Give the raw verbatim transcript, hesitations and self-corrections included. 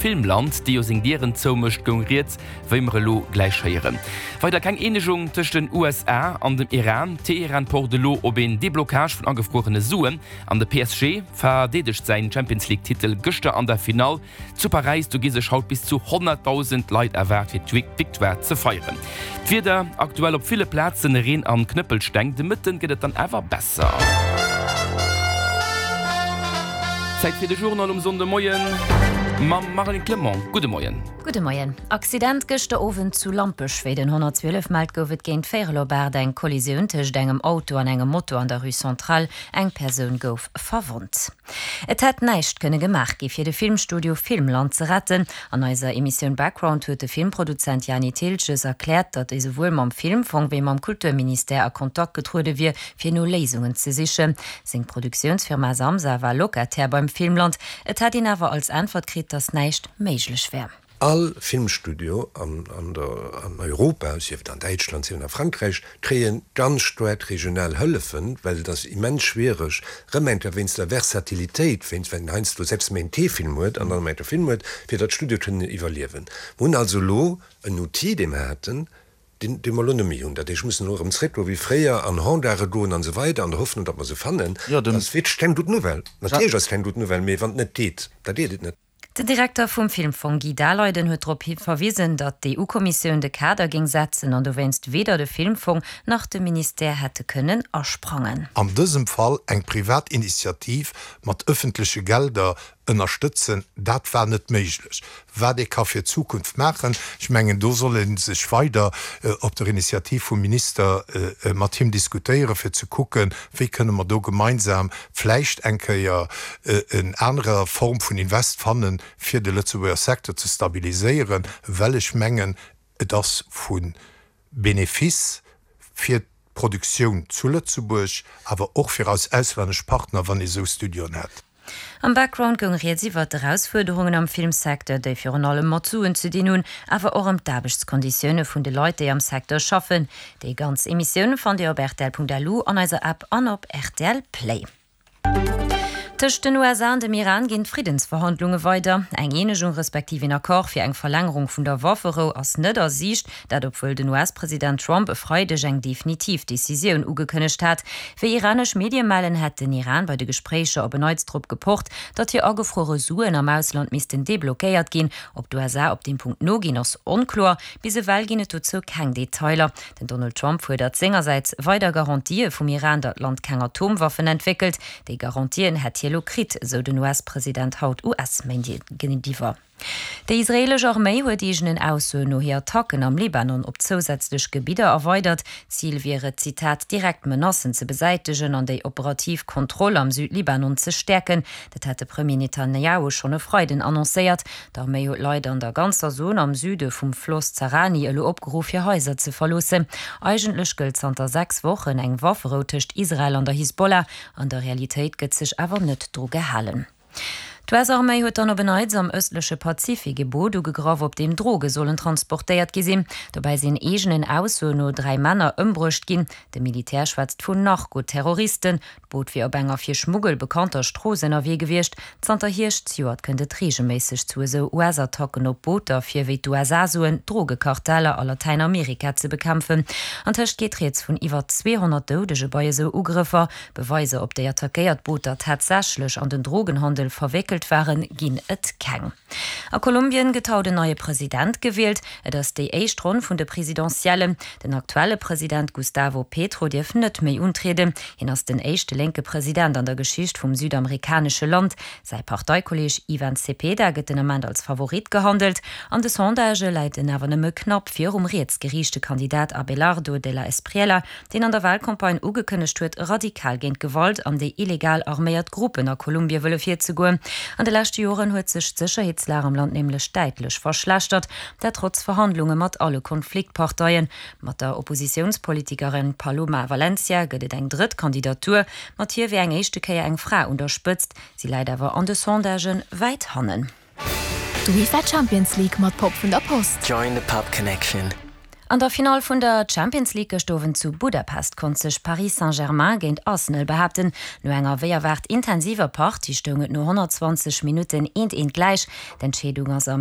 Filmland, déi jo seng Dieren zoumécht, goung rieds, wéi mer elo gläich héieren. Weider keng Eenegung tëscht den U S A an dem Iran, Teheran pocht elo op een Deblocage vun agefruerene Suen an de P S G verdeedegt säin Champions League Titel gëschter an der Finall zu Paräis. Do gi sech haut bis zu honnertdausend Leit erwaart fir d'Victoire ze feieren. D'Wieder, aktuell op ville Plazen Reen an Knëppelsteng, de Mëtten gëtt et dann awer besser. Zäit fir de Journal um Sonndemoien mam Marlène Clement. Gudde Moien. Gudde Moien. Accident gëschter Owend zu Lampech. Wéi den honnertzwielef mellt, gouf et géint véierel op aacht eng Kollisioun tëscht engem Auto an engem Moto an der Rue Centrale. Eng Persoun gouf verwonnt. Et hätt näischt kënne gemaach gi fir de Filmstudio Filmland ze retten. An eiser Emissioun Background huet de Filmproduzent Jani Thiltges erkläert, datt ee souwuel mam Filmfong wéi mam Kulturministère a Kontakt getruede wier, fir no Léisungen ze sichen. Seng Produktiounsfirma Samsa war Locataire beim Filmland. Et hätt een awer als Äntwert kritt, datt näischt méiglech wär. All Filmstudio an, an, der, an Europa, sief et an Däitschland, sief et a Frankräich, kréie ganz staark regional Hëllefen, well et ass immens schwiereg, rëm eng Kéier wéinst der Versatilitéit, wéinst well een heiansdo selbst méi en T-Film huet an dann méi e Film huet, fir datt d'Studio kënnen iwwerliewen. Mir hunn also elo en Outil, dee mer haten, deen, dee mer elo net méi hunn. Dat heescht, mussen elo erëm zréck wéi fréier an Hendaare goen an esou weider, an der Hoffnung, datt mer se fannen. Jo, den. Dat ass wierklech keng gutt Nouvelle. Natierlech ass et keng gutt Nouvelle, mee wann et net geet, da geet et net. Den Direkter vum Filmfong Guy Daleiden huet drop verwisen, datt d'E U-Kommissioun de Kader géing setzen an dowéinst weder de Filmfong nach de Ministère hätte kënnen asprangen. An dësem Fall eng privat Initiativ mat ëffentleche Gelder ënnerstëtzen, dat war net méiglech. Wat ee ka fir d'Zukunft maachen, ech mengen, do soll ee sech weider op der Initiativ vum Minister mat him diskutéieren, fir ze kucken, wéi kënne mer do gemeinsam vläicht eng Kéier en anerer Form vun Invest fannen, fir de Lëtzebuerger Secteur ze stabiliséieren, well ech mengen, et ass vu Benefice fir d'Produktioun zu Lëtzebuerg, awer och fir eis auslännesch Partner, wann ee sou Studioen hätt. Am Background goung rieds iwwer d'Erausfuerderungen am Filmsecteur, déi virun allem mat Suen ze dinn hunn, awer och ëm d'Aarbechtskonditioune vun de Leit, déi am Secteur schaffen. Déi ganz Emissioun fannt Dir op R T L Punkt L U, an eiser App an op R T L Play. Tëscht den U S A an dem Iran ginn d'Friddensverhandlunge weider. Eng Eenegung respektiv een Accord fir eng Verlängerung vun der Wafferou ass net a Siicht, dat obwuel den U S-President Trump e Freideg eng definitiv Decisioun ugekënnegt hat. Wéi iranesch Medie mellen, hätt den Iran bei de Gespréicher op en Neits drop gepocht, datt hir agefruere Suen am Ausland missten deblockéiert ginn. Ob d'U S A op deem Punkt noginn, ass onkloer. Bis ewell ginn et dozou keng Detailer. Den Donald Trump fuerdert sengersäits weider Garantië vum Iran, datt d'Land keng Atomwaffen entwéckelt. Déi Garantien hätt hie elo kritt, sou den U S-President haut U S-Medie géintiwwer. Déi israeelesch Arméi huet eegenen Aussoen no hir Attacken am Libanon op zousätzlech Gebidder erweidert. Zil wier et, Zitat, direkt Menacen ze besäitegen an déi operativ Kontroll am Südlibanon ze stäerken. Dat hat de Premier Netanjahu schonn e Freiden annoncéiert. D'Arméi huet Leit an der ganzer Zon am Süde vum Floss Zarani elo opgeruff, hir Haiser ze verloossen. Eigentlech gëllt zanter sechs Wochen eng Wafferou tëscht Israel an der Hisbollah. An der Realitéit gëtt sech awer net dru gehalen. D'U S-Arméi huet dann op en Neits am ëstleche Pazifik e Boot ugegraff, op deem Droge sollen transportéiert gi sinn. Dobäi sinn eegenen Aussoen no dräi Männer ëmbruecht ginn. De Militär schwätzt vun Narkoterroristen. D'Boot wier op enger fir Schmuggel bekannter Strooss ënnerwee gewiescht. Zanter Hierscht zejoert kënnt et reegelméisseg zu esou U S-Attacken op Booter, fir wéi d'U S A soen, Drogekarteller a Latäinamerika ze bekämpfen. Antëscht geet rieds vun iwwer zweehonnert Doudege bei esou Ugrëffer. Beweiser, ob déi attackéiert Booter tatsächlech an den Drogenhandel verwéckelt waren, ginn et keng. A Kolumbien gëtt haut en neie President gewielt. Et ass déi éischt Ronn vun de Presidentiellen. Den aktuelle President Gustavo Petro dierf net méi untrieden. Hien ass den éischte lénke President an der Geschicht vum südamerikanesche Land. Säi Parteikolleeg Ivan Cepeda gëtt den Ament als Favorit gehandelt. An de Sondagë läit en awer nëmme knapp virum rietsgeriichte Kandidat Abelardo de la Espriella, deen an der Walcampagne ugekënnegt huet, radikal géint Gewalt an déi illegal arméiert Gruppen a Kolumbie wëlle virzegoen. An de leschte Joren huet sech d'Sécherheetslag am Land nämlech däitlech verschlechtert, dat trotz Verhandlunge mat alle Konfliktparteien. Mat der Oppositiounspolitikerin Paloma Valencia gëtt et eng drëtt Kandidatur, mat hir wier eng éischte Kéier eng Fra un der Spëtzt. Si läit awer an de Sondagen wäit hannen. D'UEFA Champions League mat Pop vun der Post. Join the Pop Connection. An der Finall vun der Champions League gëschter Owend zu Budapest konnt sech Paris Saint-Germain géint Arsenal behaapten. No enger wéi erwaart intensiver Partie stoung et no honnertzwanzeg Minutten eent eent gläich. D'Entscheedung ass am